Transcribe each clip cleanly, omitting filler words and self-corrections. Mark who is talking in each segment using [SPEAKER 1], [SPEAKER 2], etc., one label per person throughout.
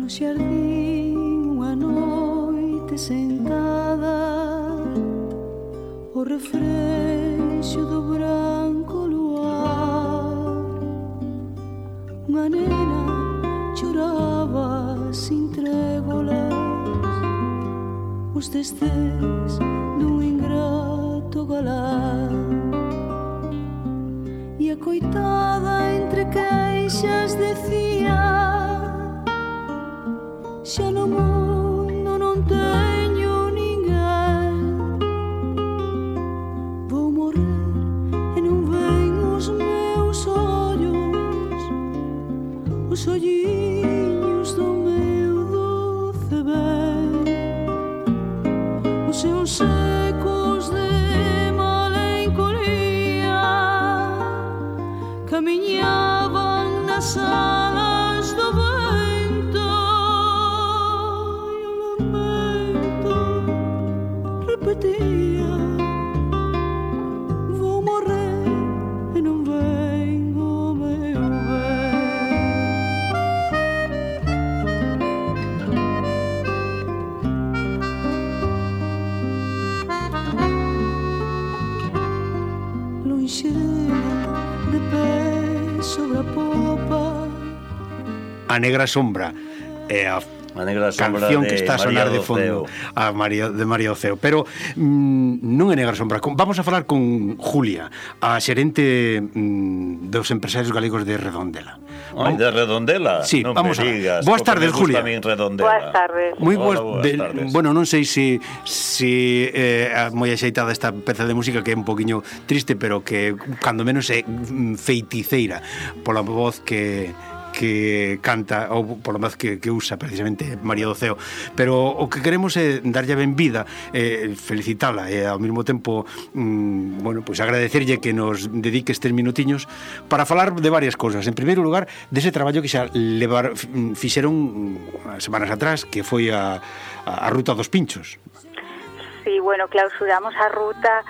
[SPEAKER 1] xardín unha noite sentada, o refrexo do branco luar, unha nena choraba sin trégolas os testes dun ingrato galán, e a coitada entre queixas decía: xa no mundo non teño ninguén, vou morrer e non ven os meus ollos, os olliños do meu doce ben, os seus secos de malencolía camiñaban nas alas do vento, e o lamento repetía: vou morrer e non ven o meu ben. Lonxe de pé sobre a popa,
[SPEAKER 2] A Negra Sombra é a
[SPEAKER 3] Negra Sombra
[SPEAKER 2] canción que
[SPEAKER 3] de
[SPEAKER 2] está a sonar
[SPEAKER 3] María
[SPEAKER 2] de fondo, de María Oceo. Pero non é Negra Sombra. Vamos a falar con Julia, a xerente dos empresarios galegos de Redondela.
[SPEAKER 3] Ai, de Redondela?
[SPEAKER 2] Sí,
[SPEAKER 3] non
[SPEAKER 2] vamos a
[SPEAKER 3] digas,
[SPEAKER 2] Boas tardes, Julia.
[SPEAKER 4] Boas tardes.
[SPEAKER 2] Moi
[SPEAKER 3] Hola,
[SPEAKER 2] boas,
[SPEAKER 3] boas tardes.
[SPEAKER 2] bueno, non sei se moi axeitada esta peza de música, que é un poquinho triste, pero que cando menos é feiticeira pola voz que canta, ou polo menos que usa precisamente María do Ceo. Pero o que queremos é darlle a benvida, felicitala e ao mesmo tempo bueno, pois agradecerlle que nos dedique estes minutiños para falar de varias cousas. En primeiro lugar, dese traballo que xa fixeron as semanas atrás, que foi a Ruta dos Pinchos.
[SPEAKER 4] Sí, bueno, clausuramos a ruta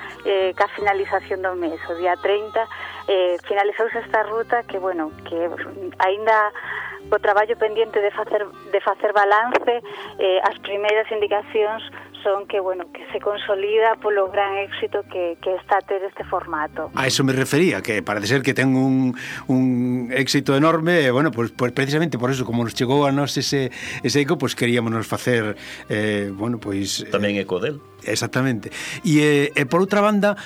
[SPEAKER 4] ca finalización do mes, o día 30, finalizouse esta ruta que, bueno, que aínda o traballo pendiente de facer balance, as primeiras indicacións son que, bueno, que se consolida polo gran éxito que está a ter este formato.
[SPEAKER 2] A eso me refería, que parece ser que ten un éxito enorme, e, bueno, pues precisamente por eso, como nos chegou a nós ese eco, pues queríamos nos facer, bueno, pues...
[SPEAKER 3] Tamén eco del.
[SPEAKER 2] Exactamente. E por outra banda,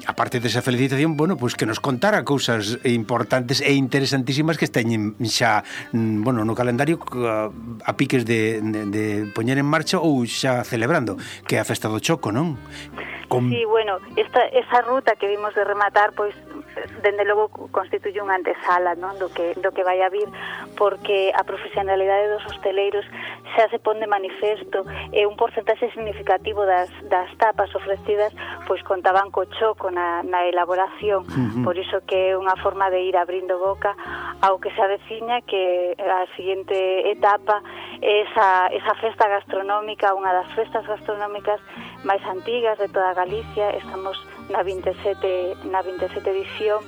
[SPEAKER 2] aparte desa felicitación, bueno, pues que nos contara cousas importantes e interesantísimas que teñen xa, bueno, no calendario a piques de poñer en marcha ou xa celebrando, que é a Festa do Choco, non?
[SPEAKER 4] Sí, bueno, esa ruta que vimos de rematar, pois, dende logo constituye unha antesala, non, do que vai a vir, porque a profesionalidade dos hosteleiros xa se pon de manifesto, e un porcentaxe significativo das tapas ofrecidas pois contaban co choco na elaboración. Por iso que é unha forma de ir abrindo boca ao que se aveciña, que a seguinte etapa é esa festa gastronómica, unha das festas gastronómicas máis antigas de toda Galicia. Estamos na 27 edición,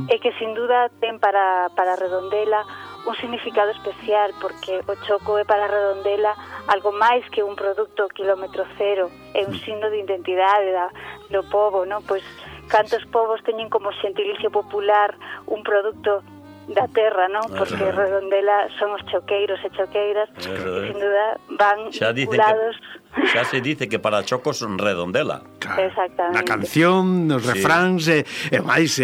[SPEAKER 4] e que sin duda ten para Redondela un significado especial, porque o choco é para Redondela algo máis que un produto kilómetro cero, é un signo de identidade do pobo, non? Pois cantos povos teñen como xentilicio popular un produto da terra, non? Porque Redondela son os choqueiros e choqueiras, e sin duda van vinculados.
[SPEAKER 3] Xa se dice que para chocos son Redondela.
[SPEAKER 2] Claro.
[SPEAKER 4] Exactamente.
[SPEAKER 2] Na canción, nos refráns, e máis,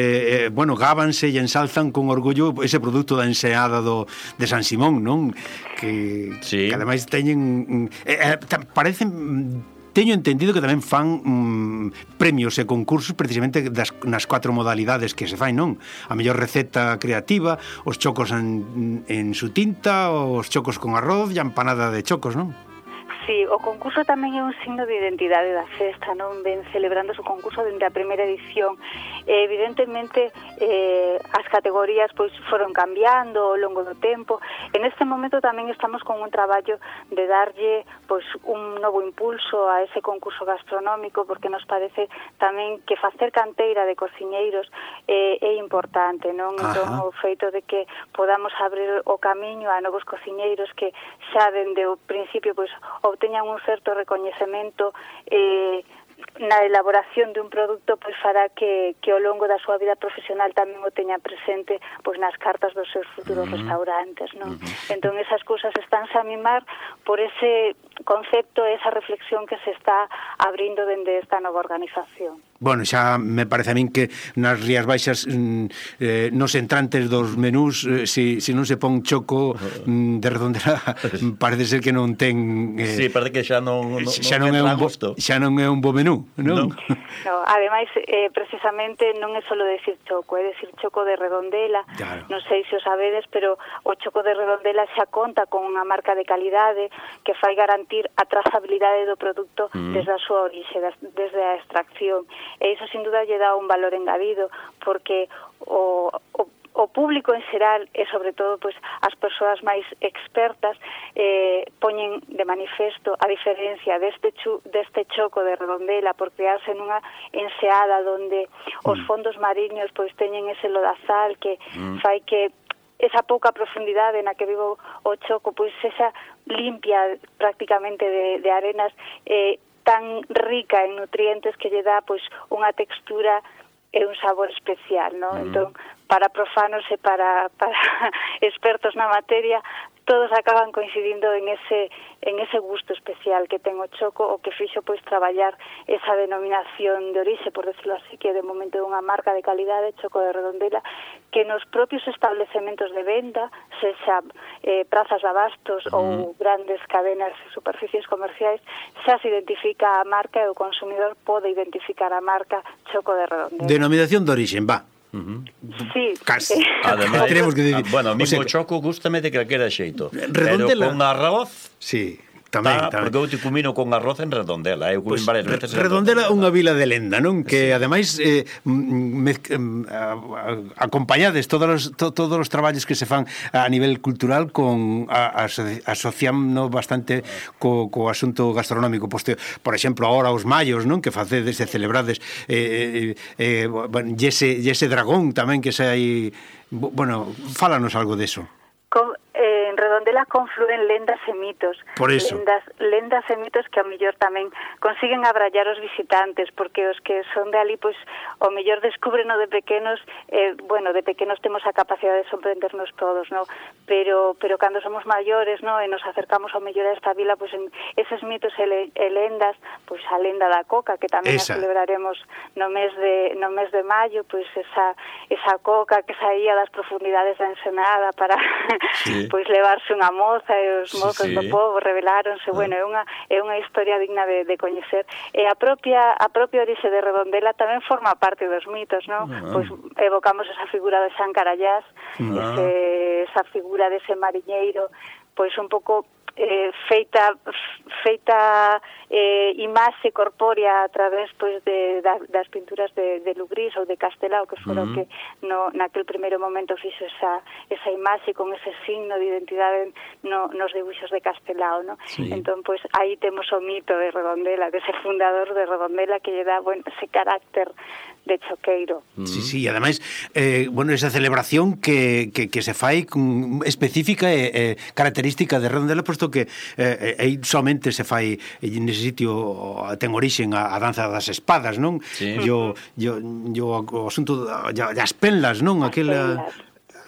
[SPEAKER 2] bueno, gábanse e ensalzan con orgullo ese produto da enseada de San Simón, non? Que ademais teñen... parecen... Teño entendido que tamén fan premios e concursos precisamente nas 4 modalidades que se fai, non? A mellor receta creativa, os chocos en su tinta, os chocos con arroz e a empanada de chocos, non?
[SPEAKER 4] Sí, o concurso tamén é un signo de identidade da festa, non? Ven celebrando o concurso dende a primeira edición. Evidentemente, as categorías pois foron cambiando ao longo do tempo. En este momento tamén estamos con un traballo de darlle pois un novo impulso a ese concurso gastronómico, porque nos parece tamén que facer canteira de cociñeiros é importante, non? Entón, o feito de que podamos abrir o camiño a novos cociñeiros que xa dende o principio pois obteñan un certo recoñecemento na elaboración de un produto, pois fará que ao longo da súa vida profesional tamén o teña presente pois nas cartas dos seus futuros restaurantes, non? Entón esas cousas estánse a mimar por ese concepto, esa reflexión que se está abrindo dende esta nova organización.
[SPEAKER 2] Bueno, xa me parece a min que nas Rías Baixas nos entrantes dos menús se non se pon choco de Redondela parece ser que non ten
[SPEAKER 3] Sí, parece que xa non
[SPEAKER 2] é un bo menú, non?
[SPEAKER 4] No, ademais, precisamente non é só decir choco, é decir choco de Redondela.
[SPEAKER 2] Claro.
[SPEAKER 4] Non sei se o sabedes, pero o choco de Redondela xa conta con unha marca de calidade que fai garantir a trazabilidade do produto desde a súa orixe, desde a extracción. E iso sin duda lle dá un valor engadido, porque o público en xeral e sobre todo pois as persoas máis expertas poñen de manifesto a diferencia deste choco de Redondela por crearse nunha enseada onde os fondos mariños pois teñen ese lodazal que fai que esa pouca profundidade na que vivo o choco pois esa limpia prácticamente de arenas tan rica en nutrientes que lle dá pois unha textura e un sabor especial, non? Entón, para profanos e para expertos na materia, todos acaban coincidindo en ese gusto especial que ten o choco, o que fixo pois traballar esa denominación de orixe, por decirlo así, que de momento é unha marca de calidade, choco de Redondela, que nos propios establecementos de venda, sexa prazas de abastos ou grandes cadenas e superficies comerciais, xa se identifica a marca e o consumidor pode identificar a marca choco de Redondela.
[SPEAKER 2] Denominación de orixe, va.
[SPEAKER 4] Sí.
[SPEAKER 2] Casi.
[SPEAKER 3] Además,
[SPEAKER 2] tenemos que decir,
[SPEAKER 3] bueno, a mí
[SPEAKER 2] o sea,
[SPEAKER 3] o choco gústame de calquera xeito.
[SPEAKER 2] Redondela.
[SPEAKER 3] Pero con arroz...
[SPEAKER 2] Sí. Tamén.
[SPEAKER 3] Porque eu te comino con arroz en Redondela. Eu comín varias veces en
[SPEAKER 2] Redondela é unha vila de lenda, non? Que ademais acompañades todos os traballos que se fan a nivel cultural con asociando bastante co asunto gastronómico. Por exemplo, agora os mayos, non? Que facedes e celebrades ese dragón tamén que se hai... Bueno, fálanos algo deso.
[SPEAKER 4] En Redondela confluen lendas e mitos.
[SPEAKER 2] Por eso.
[SPEAKER 4] Lendas e mitos que ao mellor tamén consiguen abrallar os visitantes, porque os que son de ali, pois, ao mellor descúbreno de pequenos, bueno, de pequenos temos a capacidade de sorprendernos todos, no? Pero cando somos maiores, no, e nos acercamos ao mellor a esta vila, pois, en eses mitos e lendas, pois, a lenda da coca, que tamén a celebraremos no mes de maio, pois, esa coca que saía das profundidades da Ensenada para pois levarse unha moza e os mozos do povo reveláronse, bueno, é unha historia digna de coñecer. E a propia orixe de Redondela tamén forma parte dos mitos, non? Pois evocamos esa figura de San Carallás, esa figura dese mariñeiro, pois un pouco feita imaxe corpórea a través pois das pinturas de Lugrís ou de Castelao, que foron que naquel primeiro momento fixo esa imaxe con ese signo de identidade nos dibuixos de Castelao, no? Entón, pois, aí temos o mito de Redondela, dese fundador de Redondela que lle dá, bueno, ese carácter de choqueiro.
[SPEAKER 2] Sí, ademais, bueno, esa celebración que se fai específica e característica de Redondela, posto que aí somente se fai nese sitio ten orixen a danza das espadas, non?
[SPEAKER 3] Sí.
[SPEAKER 2] O asunto das penlas, non? Aquela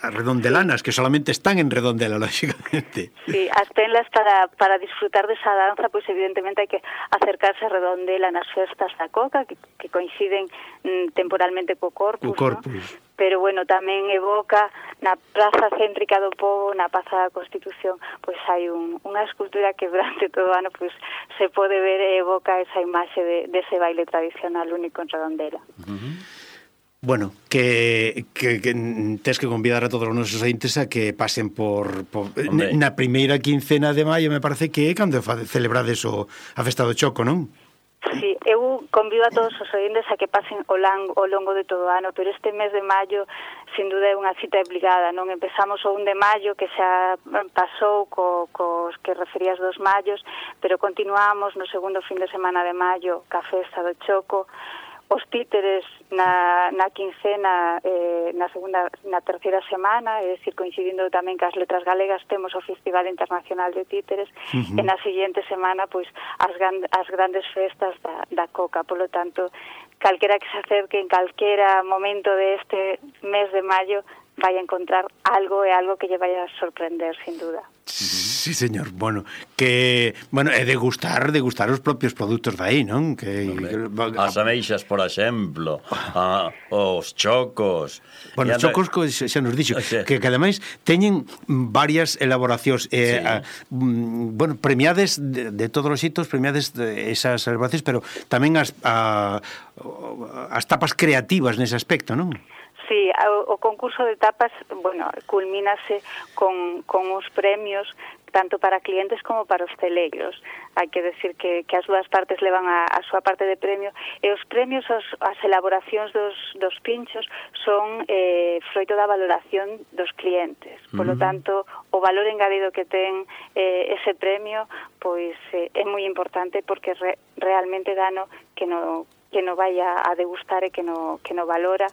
[SPEAKER 2] redondelanas que solamente están en Redondela, lógicamente.
[SPEAKER 4] Sí, as penlas para disfrutar desa danza, pois evidentemente hai que acercarse a Redondela nas festas da coca que coinciden temporalmente co Corpus, ¿no? Pero bueno, tamén evoca na praza céntrica do povo, na Praza da Constitución, pois hai unha escultura que durante todo o ano pois se pode ver e evoca esa imaxe dese baile tradicional único en Redondela.
[SPEAKER 2] Bueno, que tes que convidar a todos os nosos ointes a que pasen por na primeira quincena de maio, me parece que é cando celebrades a festa do Choco, non?
[SPEAKER 4] Sí, eu convido a todos os ointes a que pasen ao longo de todo o ano, pero este mes de maio, sin duda, é unha cita obligada, non? Empezamos o 1 de maio, que xa pasou cos que referías dos mayos, pero continuamos no segundo fin de semana de maio ca festa do Choco. Os títeres na quincena, na terceira semana, é dicir, coincidindo tamén que as letras galegas, temos o Festival Internacional de Títeres, e na seguinte semana, pois, as grandes festas da Coca. Polo tanto, calquera que se acerque en calquera momento deste mes de maio vai a encontrar algo que lle vai a sorprender, sin duda.
[SPEAKER 2] Sí, señor. Bueno, é degustar os propios produtos dai, non?
[SPEAKER 3] As ameixas, por exemplo, os chocos.
[SPEAKER 2] Bueno, os chocos xa nos dixo que ademais teñen varias elaboracións premiades de todos os xitos, premiades esas elaboracións, pero tamén as tapas creativas nese aspecto, non?
[SPEAKER 4] Sí, o concurso de tapas, culmínase con os premios tanto para clientes como para hosteleiros. Hai que decir que as dúas partes levan a súa parte de premio, e os premios, as elaboracións dos pinchos son froito da valoración dos clientes. Por lo tanto, o valor engadido que ten ese premio pois é moi importante, porque realmente dano que no vai a degustar e que no valora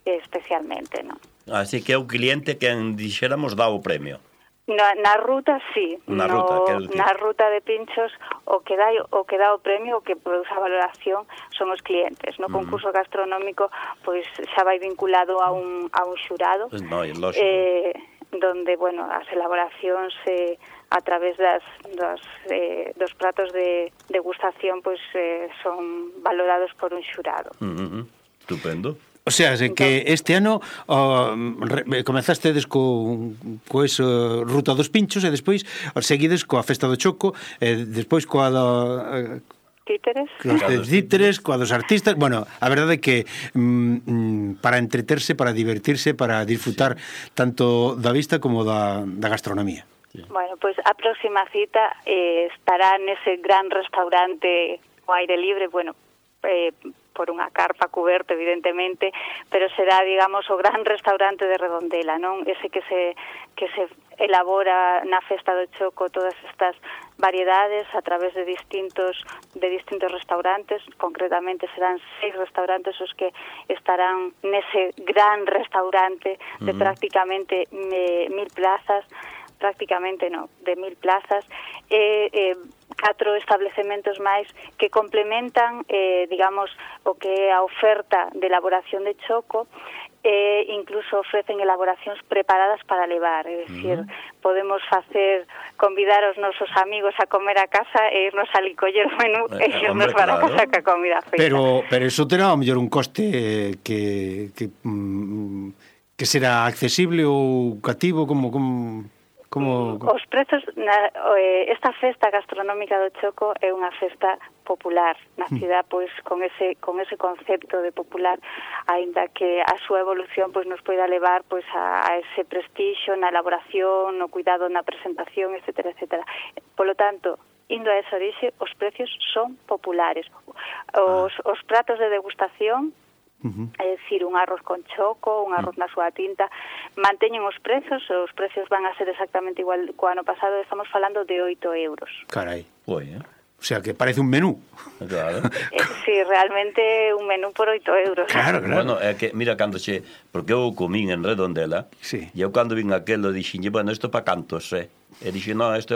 [SPEAKER 4] especialmente, non?
[SPEAKER 3] Así que é o cliente quen dixéramos dá o premio.
[SPEAKER 4] Na ruta, sí. Na ruta de pinchos, o que dá o premio, o que produce a valoración, son os clientes. No concurso gastronómico, pois xa vai vinculado a un xurado, donde, as elaboracións a través dos pratos de degustación, pois son valorados por un xurado.
[SPEAKER 3] Estupendo.
[SPEAKER 2] O sea, que este ano comezastedes co eso, ruta dos pinchos, e despois seguides coa festa do Choco, e despois coa do títeres, coa dos artistas. Bueno, a verdade é que para entreterse, para divertirse, para disfrutar tanto da vista como da gastronomía.
[SPEAKER 4] Bueno, pois a próxima cita estará nese gran restaurante ao aire libre, por unha carpa cuberta, evidentemente, pero será, digamos, o gran restaurante de Redondela, non? Ese que se elabora na festa do Choco todas estas variedades a través de distintos restaurantes. Concretamente serán 6 restaurantes os que estarán nese gran restaurante de prácticamente 1.000 plazas, de 1.000 plazas, e 4 establecementos máis que complementan, digamos, o que é a oferta de elaboración de Choco, e incluso ofrecen elaboracións preparadas para levar, é dicir, podemos convidar os nosos amigos a comer a casa e irnos a licoller o menú e irnos para a casa ca comida feita.
[SPEAKER 2] Pero eso terá ao mellor un coste que será accesible ou cativo, como
[SPEAKER 4] os prezos esta festa gastronómica do Choco é unha festa popular na cidade, pois con ese concepto de popular, aínda que a súa evolución pois nos poida levar pois a ese prestixio na elaboración, no cuidado na presentación, etcétera, etcétera. Polo tanto, indo a esa orixe, os precios son populares. Os pratos de degustación, é dicir, un arroz con choco, un arroz na súa tinta, manteñen os precios van a ser exactamente igual co ano pasado. Estamos falando de 8 euros.
[SPEAKER 2] Carai. O sea, que parece un menú.
[SPEAKER 3] Claro.
[SPEAKER 4] Sí, realmente un menú por 8 euros.
[SPEAKER 2] Claro.
[SPEAKER 3] Bueno, é que, mira, porque eu comín en Redondela,
[SPEAKER 2] sí.
[SPEAKER 3] E eu cando vin aquelo dixenlle, isto pa cantos, E dixo, isto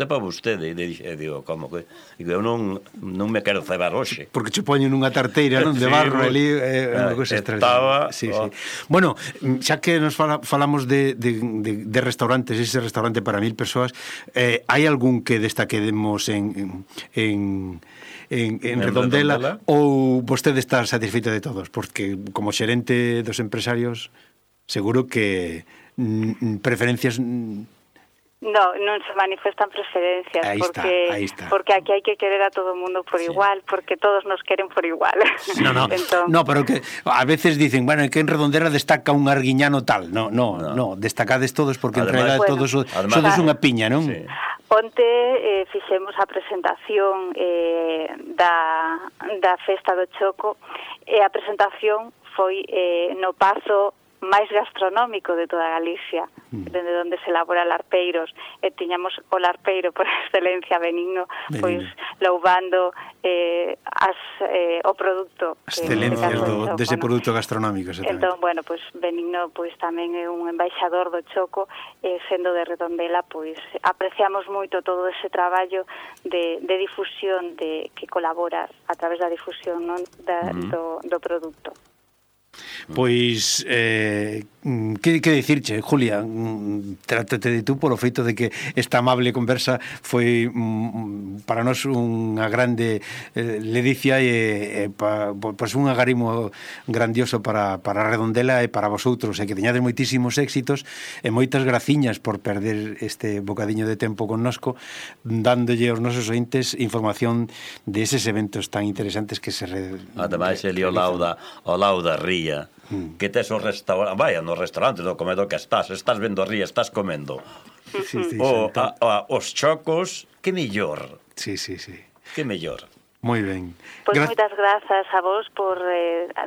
[SPEAKER 3] é para vostede. E digo, como que? Eu non me quero cebar hoxe.
[SPEAKER 2] Porque che poñen nunha tarteira, non, de barro ali, unha cosa extraordinaria. Sí. Bueno, xa que nos falamos de restaurantes, ese restaurante para 1.000 persoas, hai algún que destaquemos en Redondela, ou vostede está satisfeito de todos? Porque como xerente dos empresarios seguro que preferencias
[SPEAKER 4] Non se manifestan preferencias,
[SPEAKER 2] Aí está.
[SPEAKER 4] porque aquí hai que querer a todo o mundo por igual, porque todos nos queren por igual.
[SPEAKER 2] No, pero que a veces dicen, bueno, que en Redondela destaca un arguiñano tal. No, destacades todos porque en realidad todos sodes unha piña, non? Sí.
[SPEAKER 4] Onte fixemos a presentación da Festa do Choco e a presentación foi no pazo máis gastronómico de toda Galicia, dende onde se elabora larpeiros, e tiñamos o larpeiro por excelencia Benigno, pois louvando o produto,
[SPEAKER 2] as excelencias dese produto gastronómico.
[SPEAKER 4] Entón, bueno, pois Benigno pois tamén é un embaixador do Choco, sendo de Redondela, pois apreciamos moito todo ese traballo de difusión que colabora a través da difusión, non, do produto.
[SPEAKER 2] Pois, que dicirche, Julia? Trátate de tú polo feito de que esta amable conversa foi para nós unha grande ledicia e pois un agarimo grandioso para Redondela e para vosotros, e que teñades moitísimos éxitos e moitas graciñas por perder este bocadiño de tempo connosco, dándolle aos nosos ointes información de eses eventos tan interesantes que se
[SPEAKER 3] ademais, Eli, o lauda ría que tes o restaurante, vaya, no restaurante, no comedor que estás vendo a ría, estás comendo os chocos, que mellor.
[SPEAKER 2] Sí.
[SPEAKER 3] Que mellor.
[SPEAKER 2] Moi ben.
[SPEAKER 4] Pois moitas grazas a vos por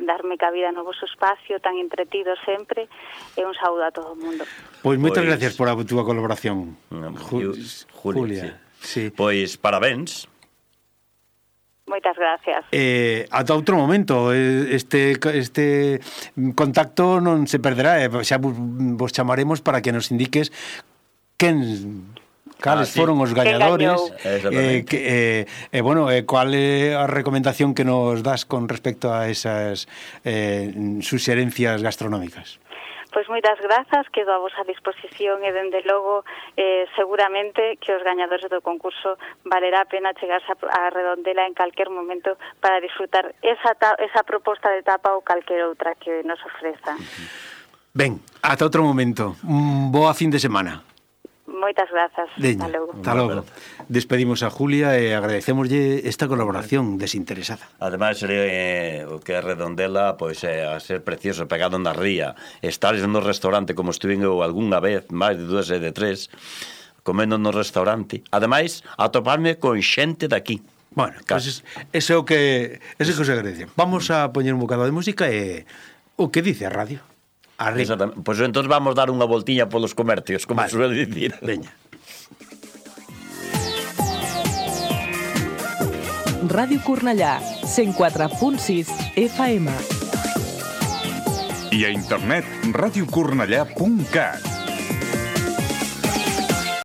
[SPEAKER 4] darme cabida no vosso espacio tan entretido sempre, e un saúdo a todo o mundo.
[SPEAKER 2] Pois moitas gracias por a túa colaboración,
[SPEAKER 3] Julia. Sí. Pois parabéns.
[SPEAKER 4] Moitas gracias.
[SPEAKER 2] Ata outro momento, este contacto non se perderá, xa vos chamaremos para que nos indiques cales foron os gañadores, cual é a recomendación que nos das con respecto a esas suxerencias gastronómicas.
[SPEAKER 4] Pois moitas grazas, quedo a vosa disposición e, dende logo, seguramente que os gañadores do concurso valerá a pena chegarse a Redondela en calquer momento para disfrutar esa proposta de tapa ou calquer outra que nos ofreza.
[SPEAKER 2] Ben, ata outro momento. Boa fin de semana.
[SPEAKER 4] Moitas grazas. Hasta logo.
[SPEAKER 2] Despedimos a Julia e agradecemoslle esta colaboración desinteresada.
[SPEAKER 3] Ademais, o que é Redondela, pois é a ser precioso, pegado na ría. Estar no restaurante como estuve eu algunha vez, máis de 2 e de 3, comendo no restaurante. Ademais, atoparme con xente daqui.
[SPEAKER 2] Bueno, pues ese é o que se agradece. Vamos a poñer un bocado de música e o que dice a radio.
[SPEAKER 3] Pois entón vamos dar unha voltiña polos comercios, como suele dicir.
[SPEAKER 2] Veña.
[SPEAKER 5] Ràdio Cornellà, 104.6 FM.
[SPEAKER 6] I a internet radiocornellà.cat.